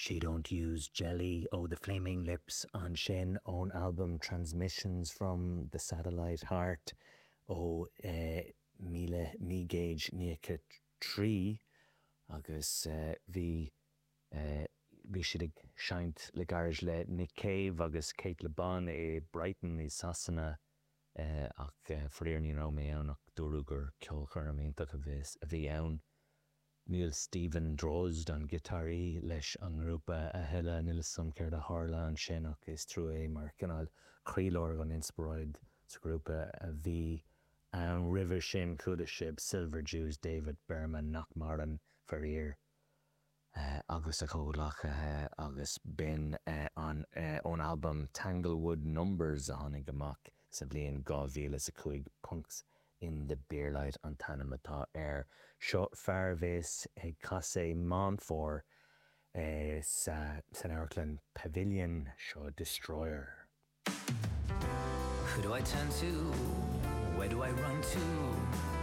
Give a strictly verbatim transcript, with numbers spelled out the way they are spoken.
She Don't Use Jelly ó The Flaming Lips ansin ón albam Transmissions from the Satellite Heart ó míle naoi gcéad nócha trí agus bhí bhí siad ag seinnt le gairid le Nick Cave agus Cate Le Bon i Brighton i Sasana ach faraor ní raibh mé ann ach dúradh gur ceolchoirm iontach a bhí ann. Níl Steven Drozd an giotáraí leis an ngrúpa a thuilleadh níl a fhios agam céard a tharla ansin ach is trua é mar cineál croílár an inspioráid sa ghrúpa a bhí ann roimhe sin chuala sibh Silver Jews David Berman nach maireann faraor agus a chomhghleacaithe agus b'in an ón albam Tanglewood Numbers a tháinig amach sa bhliain dhá mhíle is a cúig Punks in the Beer Light an t-ainm atá air. Seo fear a bheas ag casadh Meán Fómhair sa san amharclann Pavilion seo Destroyer. Who do I turn to? Where do I run to?